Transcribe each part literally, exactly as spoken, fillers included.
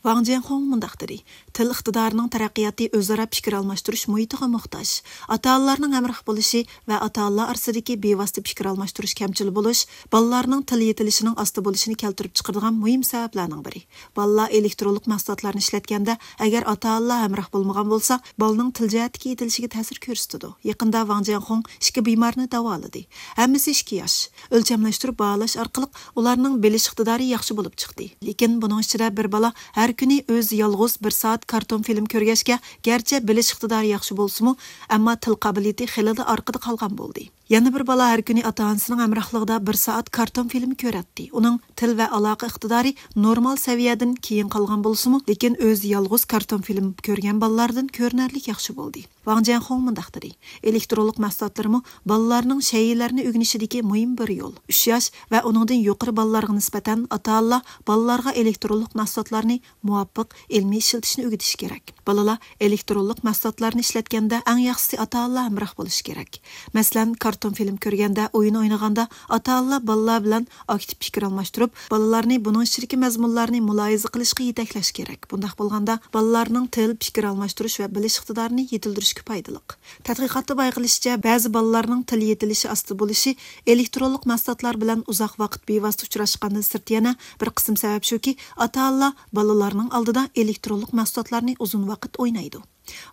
ۋاڭ جيەنخۇڭ مۇنداق دېدى: تىل ئىقتىدارىنىڭ تەرەققىياتى ئۆزئارا پىكىر ئالماشتۇرۇش مۇھىتىغا موھتاج. ئاتا-ئانىلارنىڭ ھەمراھ بولۇشى ۋە ئاتا-ئانىلار ئارىسىدىكى بىۋاسىتە پىكىر ئالماشتۇرۇش كەمچىل بولۇش بالىلارنىڭ تىل يېتىلىشىنىڭ ئاستا بولۇشىنى كەلتۈرۈپ چىقىرىدىغان مۇھىم سەۋەبلەرنىڭ بىرى. بالىلار ئېلېكترونلۇق مەھسۇلاتلارنى ئىشلەتكەندە، ئەگەر ئاتا-ئانىلار ھەمراھ بولمىغان بولسا، بالىنىڭ تىل جەھەتتىكى يېتىلىشىگە تەسىر كۆرسىتىدۇ. يېقىندا ۋاڭ جيەنخۇڭ ئىككى بىمارنى داۋالىدى. ھەممىسى ئىككى ياش. ئۆلچەملەشتۈرۈپ باھالاش ئارقىلىق ئۇلارنىڭ بىلىش ئىقتىدارى ياخشى بولۇپ چىقتى. لېكىن بۇنىڭ ئىچىدە بىر بالا ھەر كۈنى ئۆزى يالغۇز بىر سائەت كارتون فىلىم كۆرگەچكە، گەرچە بىلىش ئىقتىدارى ياخشى بولسىمۇ، ئەمما تىل قابىلىيىتى خېلىلا ئارقىدا قالغان بولدى. يەنە بىر بالا ھەر كۈنى ئاتا-ئانىسىنىڭ ھەمراھلىقىدا بىر سائەت كارتون فىلىم كۆرەتتى. ئۇنىڭ تىل ۋە ئالاقە ئىقتىدارى نورمال سەۋىيەدىن كېيىن قالغان بولسىمۇ، لېكىن ئۆزى يالغۇز كارتون فىلىم كۆرگەن بالىلاردىن كۆرۈنەرلىك ياخشى بولدى. ۋاڭ جيەنخۇڭ مۇنداق دېدى: ئېلېكترونلۇق مەھسۇلاتلىرىمۇ بالىلارنىڭ شەيئىلەرنى ئۆگىنىشىدىكى مۇھىم بىر يول. ئۈچ ياش ۋە ئۇنىڭدىن يۇقىرى بالىلارغا نىسبەتەن ئاتا-ئانىلار بالىلارغا ئېلېكترونلۇق مەھسۇلاتلارنى مۇۋاپىق ئىلمىي ئىشلىتىشنى ئۆگىتىشى كېرەك. بالىلار ئېلېكترونلۇق مەھسۇلاتلارنى ئىشلەتكەندە ئەڭ ياخشىسى ئاتا-ئانىلار ھەمراھ بولۇشى كېرەك. مەسىلەن، كارتون فىلىم كۆرگەندە، ئويۇن ئوينىغاندا ئاتا-ئانىلار بالىلار بىلەن ئاكتىپ پىكىر ئالماشتۇرۇپ، بالىلارنى بۇنىڭ ئىچىدىكى مەزمۇنلارنى مۇلاھىزە قىلىشقا يېتەكلەش كېرەك. بۇنداق بولغاندا، بالىلارنىڭ تىل، پىكىر ئالماشتۇرۇش ۋە بىلىش ئىقتىدارىنى يېتىلدۈرۈشكە پايدىلىق. تەتقىقاتتا بايقىلىشىچە، بەزى بالىلارنىڭ تىل يېتىلىشى ئاستا بولۇشى ئېلېكترونلۇق مەھسۇلاتلار بىلەن ئۇزاق ۋاقىت بىۋاسىتە ئۇچراشقاندىن سىرت يەنە بىر قىسىم سەۋەب شۇكى، ئاتا-ئانىلار بالىلارنىڭ ئالدىدا ئېلېكترونلۇق مەھسۇلاتلارنى ئۇزۇن ۋاقىت ئوينايدۇ.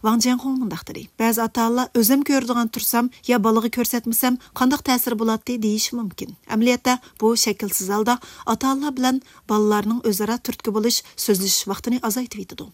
ۋاڭ جيەنخۇڭ مۇنداق دېدى: بەزى ئاتا-ئانىلار ئۆزۈم كۆرىدىغان تۇرسام يا بالىغا كۆرسەتمىسەم قانداق تەسىرى بولاتتى دېيىشى مۇمكىن. ئەمەلىيەتتە بۇ شەكىلسىز ھالدا ئاتا-ئانىلار بىلەن بالىلارنىڭ ئۆزئارا تۈرتكە بولۇش، سۆزلىشىش ۋاقتىنى ئازايتىۋېتىدۇ.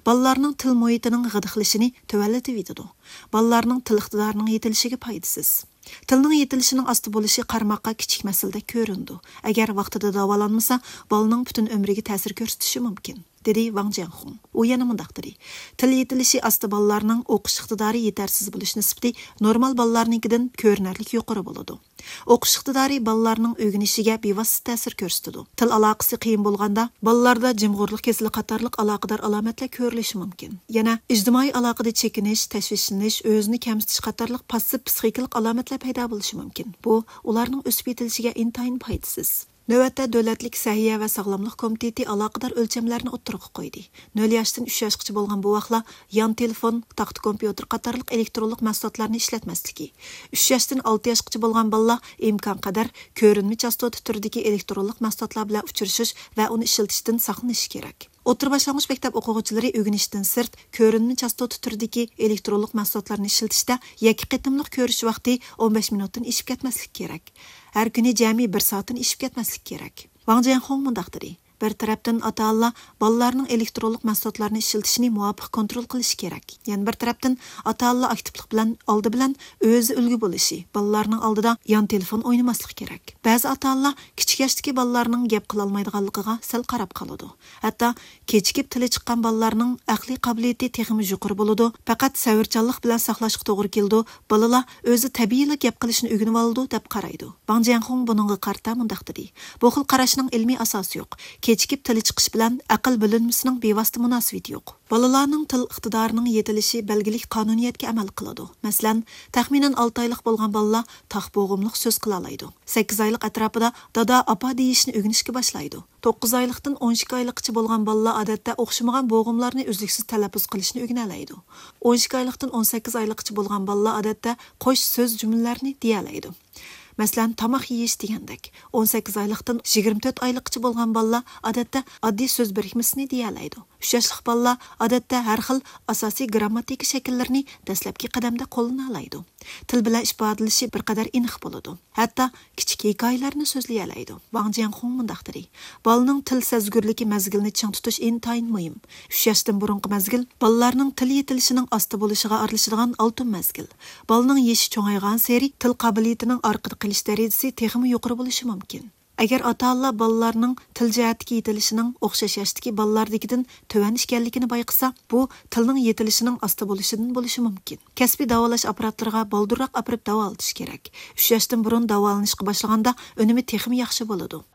بالىلارنىڭ تىل مۇھىتىنىڭ غىدىقلىشىنى تۆۋەنلىتىۋېتىدۇ. بالىلارنىڭ تىل ئىقتىدارىنىڭ يېتىلىشىگە پايدىسىز. تىلنىڭ يېتىلىشىنىڭ ئاستا بولۇشى قارىماققا كىچىك مەسىلىدەك كۆرۈنىدۇ. ئەگەر ۋاقتىدا داۋالانمىسا، بالىنىڭ پۈتۈن ئۆمرىگە تەسىر كۆرسىتىشى مۇمكىن، دېدى ۋاڭ جيەنخۇڭ. ئۇ يەنە مۇنداق دېدى: تىل يېتىلىشى ئاستا بالىلارنىڭ ئوقۇش ئىقتىدارى يېتەرسىز بولۇش نىسبىتى نورمال بالىلارنىڭكىدىن كۆرۈنەرلىك يۇقىرى بولىدۇ. ئوقۇش ئىقتىدارى بالىلارنىڭ ئۆگىنىشىگە بىۋاسىتە تەسىر كۆرسىتىدۇ. تىل ئالاقىسى قىيىن بولغاندا، بالىلاردا جىمغۇرلۇق كېسىلى قاتارلىق ئالاقىدار ئالامەتلەر كۆرۈلۈشى مۇمكىن. يەنە ئىجتىمائىي ئالاقىدە چېكىنىش، تەشۋىشلىنىش، ئۆزىنى كەمسىتىش قاتارلىق پاسسىپ پسىخىكىلىق ئالامەتلەر پەيدا بولۇشى مۇمكىن. بۇ ئۇلارنىڭ ئۆسۈپ يېتىلىشىگە ئىنتايىن پايدىسىز. نۆۋەتتە دۆلەتلىك سەھىيە ۋە ساغلاملىق كومىتېتى ئالاقىدار ئۆلچەملەرنى ئوتتۇرىغا قويدى. نۆل ياشتىن ئۈچ ياشقىچە بولغان بوۋاقلار يان تېلېفون، تاختا كومپيۇتېر قاتارلىق ئېلېكترونلۇق مەھسۇلاتلارنى ئىشلەتمەسلىكى، ئۈچ ياشتىن ئالتە ياشقىچە بولغان بالىلار ئىمكانقەدەر كۆرۈنمە چاستوتا تۈرىدىكى ئېلېكترونلۇق مەھسۇلاتلار بىلەن ئۇچرىشىش ۋە ئۇنى ئىشلىتىشتىن ساقلىنىشى كېرەك. ئوتتۇرا باشلانغۇچ مەكتەپ ئوقۇغۇچىلىرى ئۆگىنىشتىن سىرت كۆرۈنمە چاستوتا تۈرىدىكى ئېلېكترونلۇق مەھسۇلاتلارنى ئىشلىتىشتە يەككە قېتىملىق كۆرۈش ۋاقتى ئون بەش مىنۇتتىن ئېشىپ كەتمەسلىكى كېرەك. ھەر كۈنى جەمئىي بىر سائەتتىن ئېشىپ كەتمەسلىكى كېرەك. ۋاڭ جيەنخۇڭ مۇنداق دېدى: بىر تەرەپتىن ئاتا-ئانىلار بالىلارنىڭ ئېلېكترونلۇق مەھسۇلاتلارنى ئىشلىتىشىنى مۇۋاپىق كونترول قىلىشى كېرەك. يەنە بىر تەرەپتىن ئاتا-ئانىلار ئاكتىپلىق بىلەن ئالدى بىلەن ئۆزى ئۈلگە بولۇشى، بالىلارنىڭ ئالدىدا يان تېلېفون ئوينىماسلىقى كېرەك. بەزى ئاتا-ئانىلار كىچىك ياشتىكى بالىلارنىڭ گەپ قىلالمايدىغانلىقىغا سەل قاراپ قالىدۇ. ھەتتا كېچىكىپ تىلى چىققان بالىلارنىڭ ئەقلىي قابىلىيىتى تېخىمۇ يۇقىرى بولىدۇ، پەقەت سەۋرچانلىق بىلەن ساقلاشقا توغرا كېلىدۇ، بالىلار ئۆزى تەبىئىيلا گەپ قىلىشنى ئۆگىنىۋالىدۇ، دەپ قارايدۇ. ۋاڭ جيەنخۇڭ بۇنىڭغا قارىتا مۇنداق دېدى: بۇ خىل قاراشنىڭ ئىلمىي ئاساسى يوق. كېچىكىپ تىلى چىقىش بىلەن ئەقىل بۆلۈنمىسىنىڭ بىۋاسىتە مۇناسىۋىتى يوق. بالىلارنىڭ تىل ئىقتىدارىنىڭ يېتىلىشى بەلگىلىك قانۇنىيەتكە ئەمەل قىلىدۇ. مەسىلەن، تەخمىنەن ئالتە ئايلىق بولغان بالىلار تاق بوغۇملۇق سۆز قىلالايدۇ. سەككىز ئايلىق ئەتراپىدا دادا، ئاپا دېيىشنى ئۆگىنىشكە باشلايدۇ. توققۇز ئايلىقتىن ئون ئىككى ئايلىققىچە بولغان بالىلار ئادەتتە ئوخشىمىغان بوغۇملارنى ئۈزلۈكسىز تەلەپپۇز قىلىشنى ئۆگىنەلەيدۇ. ئون ئىككى ئايلىقتىن ئون سەككىز ئايلىققىچە بولغان بالىلار ئادەتتە قوش سۆز جۈملىلەرنى دېيەلەيدۇ. مەسىلەن، تاماق يېيىش دېگەندەك. ئون سەككىز ئايلىقتىن يىگىرمە تۆت ئايلىققىچە بولغان بالىلار ئادەتتە ئاددىي سۆز بىرىكمىسىنى دېيەلەيدۇ. ئۈچ ياشلىق بالىلار ئادەتتە ھەر خىل ئاساسىي گىرامماتىكا شەكىللىرىنى دەسلەپكى قەدەمدە قوللىنالايدۇ. تىل بىلەن ئىپادىلىشى بىر قەدەر ئېنىق بولىدۇ. ھەتتا كىچىك ھېكايىلەرنى سۆزلىيەلەيدۇ. ۋاڭ جيەنخۇڭ مۇنداق دېدى: بالىنىڭ تىل سەزگۈرلۈكى مەزگىلىنى چىڭ تۇتۇش ئىنتايىن مۇھىم. ئۈچ ياشتىن بۇرۇنقى مەزگىل بالىلارنىڭ تىل يېتىلىشىنىڭ ئاستا بولۇشىغا ئارىلىشىدىغان ئالتۇن مەزگىل. بالىنىڭ يېشى چوڭايغانسېرى تىل قابىلىيىتىنىڭ ئارقىدا قېلىش دەرىجىسى تېخىمۇ يۇقىرى بولۇشى مۇمكىن. ئەگەر ئاتا-ئانىلار بالىلارنىڭ تىل جەھەتتىكى يېتىلىشىنىڭ ئوخشاش ياشتىكى بالىلاردىكىدىن تۆۋەن ئىكەنلىكىنى بايقىسا، بۇ تىلنىڭ يېتىلىشىنىڭ ئاستا بولۇشىدىن بولۇشى مۇمكىن. كەسپىي داۋالاش ئاپپاراتلىرىغا بالدۇرراق ئاپىرىپ داۋالىتىش كېرەك. ئۈچ ياشتىن بۇرۇن داۋالىنىشقا باشلىغاندا ئۈنۈمى تېخىمۇ ياخشى بولىدۇ.